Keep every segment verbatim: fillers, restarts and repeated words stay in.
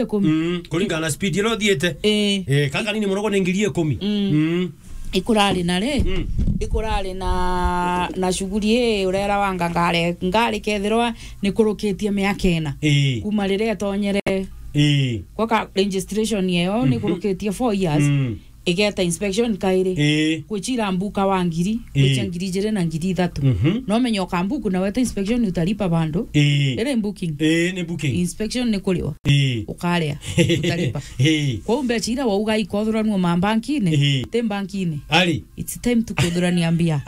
ikumi. Mm, kuringana na speed iria uthiite. Ii. Eh, kaka nini muno ni ngiri ikumi. Mm. Mm. Ikurari na ri? Mm. Ikurari na, na shughuli ii urera wanga ngari, ngari kethirwa ni kurukitie miaka ina. Ii. Kuma riria itonyere. Ii. Gwaka registration yeyo ni Mhm. kurukitie four years. Mm. Igeta inspection kairi. Ii. Kwichira mbuka wa ngiri, Ii. kwichia ngiri ijiri na ngiri ithatu. Mhm. No menye ukambuku na weta inspection utalipa bando. Ii. Iri booking. Ii, ni booking. Inspection ni kuriwa. Ii. Ukaria. Utalipa. Ii. Kwou mbecha ira wauga ikothuranua ma bankini, Ii. ti bankini. Ari. It's time to kuthurania mbia.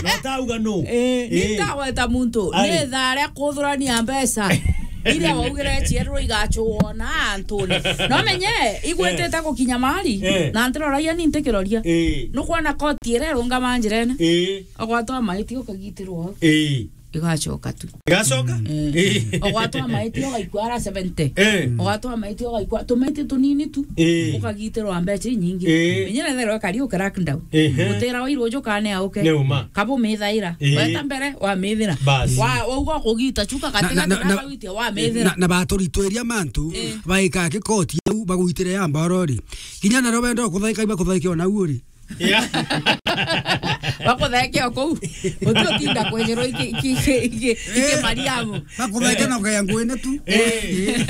No tauga no. Eh, Ii. Nitaweta muntu. Ari. Ni tharia kuthurania mbecha. Iria waugire ciererwe igachwo na antune. No menye, igwetete Eh. gukinya mari, Eh. na ntiroragia ni ntikiroria. Eh. Nukwona koti iria irungama njirene. Eh. Ogwatwa maiti ukagitirwo. Eh. Igacoka tu. Igacoka? Mm. Eh. Ogwatwa maiti ugaikua ara seventy. Eh. Ogwatwa maiti ugaikua tumaiti tunini tu. Eh. Ukagitirwa mbecha inyingi. Eh. Menye na therwe kari uke lockdown. Ehe. Mutira wa iruju kane auke. Ni uma. Kabu mithaira. Eh. Weta mbere, wa mithira. Bas. Wa, wa uga kugita chuka Na, katika na, na, na, na, wa mithira. Na, na baturitwiria mantu, Eh. baika kikoti au, bagwitire ya mborori. Kinya na robendo kuthaika, iba kuthaika ona uri. Yeah. Bakutheke o kuu. Uti utinda kwejerwo iki, iki, iki, iki, iki Eh. Mariamu. Bakutheke na ukaya ngwene tu. Eh.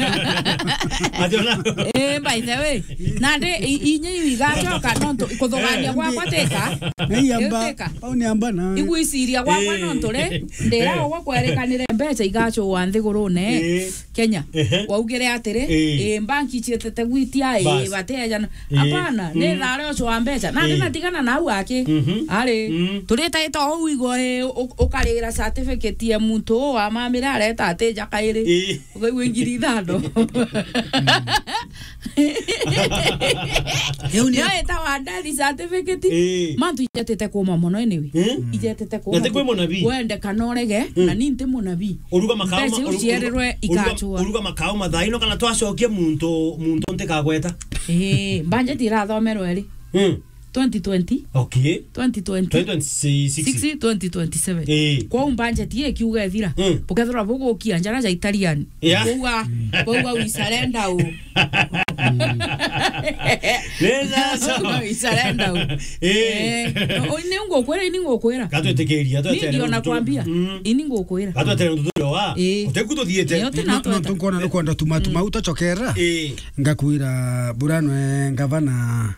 Ati ona. Eh, by the way. Na ndi, i-, inye iu igacoka, nontu kuthugania Eh, gwakwa ndi- tika. Na iya mba, Tika. Au ni amba na. Igwiciria gwakwa Eh. nontu ri, ndira Eh. ugwa kwerekanire mbecha igacua nthigurune. Eh. Kenya. Ehe. Waugire atiri, Eh. eh, banki cietete gwitia, eh, Bas. batejana. Eh. Hapana, ni Mm. thare ucio wa mbecha. Na Eh. ndina tigana na au aki. Mhm. Ari, Mm. turitaita ou igo, eh, u-, ukarira certificate ya muntu uu wa mamire areta atija kairi. Eh. Ukaigua ngiri ithano. Riu ni Yo etawa death certificate. Eh. Mantu ijetete kuma mono anyway. Eh? Ijetete kuma. Na ti kwi munabii. Wende kana urege, Mm. na ni nti munabii. Uruga makao Mbeca ma-, iu uru-, ciererwe uruga, igacua. Uruga makao mathaino kana twacokie muntu, muntu ntikagweta. Eh, budget irathomerwe ri? Mm. Twenty twenty. Okay. Twenty twenty. Twenty twenty-six. Six, twenty twenty-seven. Eh. Kwou budget ii ikiuga ithira. Mm. Bukethirwa bugukia njara ja Italian. Yeah. Kwouga, kwouga we surrender u. Neza so. We surrender u. Eh. Eh, no, ni ngukwira, ni ngukwira. Gatwitikiria, Ni ndio nakwambia. Mm. Ini ngukwira. Gatwetere ndutu wa. Eh. Uteku tuthiete. Ni uti No, no, natweta. Tunkona nukwenda tuma, tuma Mm. utacokera. Eh. Ngakwira buranwe ngavana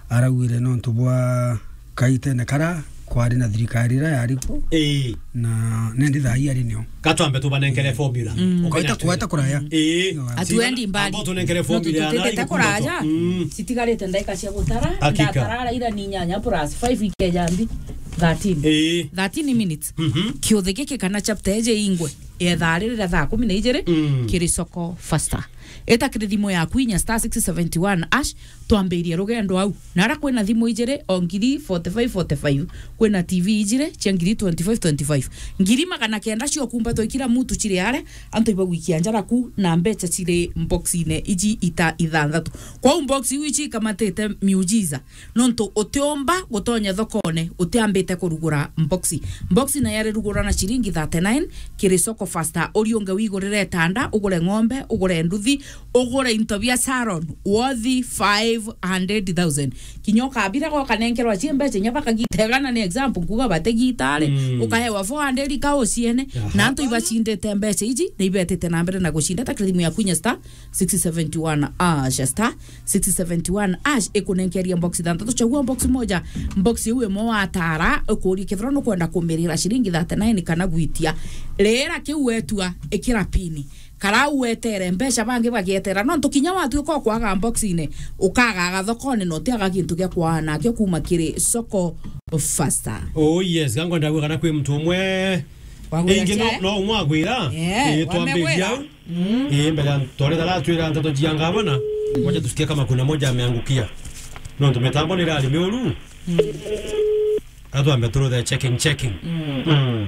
araugire nontu bwa kaitene kara kwari na thirikari ira yari ku. Ii. Na nendi thaa ii ari nio. Katwambe tubanenkere formula. Mm. Ukaita kueta kuraya. Ii. Atuendi mbali. Ambao tunenkere formula ya tutete nai kuraya. Mm. Citigarite ndaika cia gutara. Hakika. Ndatara ara ira ni nyanya plus five ikeja mbi. Thirteen. Ii. Thirteen minutes. Mhm. Kiuthi giki kana chapter eje ingwe. Ethaa riri ria thaa kumi na ijiri, Mm. kiri soko faster. Eta kiri thimu yaku inya star six seventy one hash, twambirie rugendo au. Na ara kwina thimu ijiri o ngiri forty five forty five, kwina T V ijiri cia ngiri twenty five twenty five. Ngiri magana kenda cio kumba twa ikira mutu ciri are, antu ibagwikia njara ku na mbecha ciri mboxine iji ita ithanthatu. Kwou mbox iu ici ikamatite miujiza. Nontu utiumba gutonya thokone utiambite kurugura mboxi. Mboxi nayo arirugura na ciringi thirty nine kiri soko faster. Uriunge wigurire itanda, ugure ng'ombe, ugure nduthi, ugure into bia salon, worth five hundred thousand. Kinya ukabira gokanenkerwa cie mbeca inya bakagitegana, ni example, nkuga bategitare, Mm. ukahewa four hundred ka uciene, Aha. na antu ibacindite mbeca iji, na ibetite na mbere na gucinda ta kiri thimu yaku inya star six seventy one hash, star six seventy one hash ikunenkeria box ithanthatu. Chagua box moja, box iu imwe watara, ukuria kethira nukwenda kumirira ciringi thirty nine kana gwitia. Rira kiu wetua, ikira pini. Karau wetere, mbeca bangi bagietera. Nontu kinya watuika ukwaga box-ine, ukagaga thokone na utiaga gintu gia kwaana nakio kuma kiri soko faster. Oh yes, gangwa ndagua kana kwi muntu umwe. Wagwira Ingi no, cia? No umwe agwira. Eh, Eh, twambiria wamegwira. Au. Mm. Eh, mbere ya ntore dala twira ntato jia ngavana. Wacha tusikie kama kuna moja ameangukia. Nontu mitambo ni rari miuru. Mm. Atwambe turuthe checking, checking. Mm. Mm.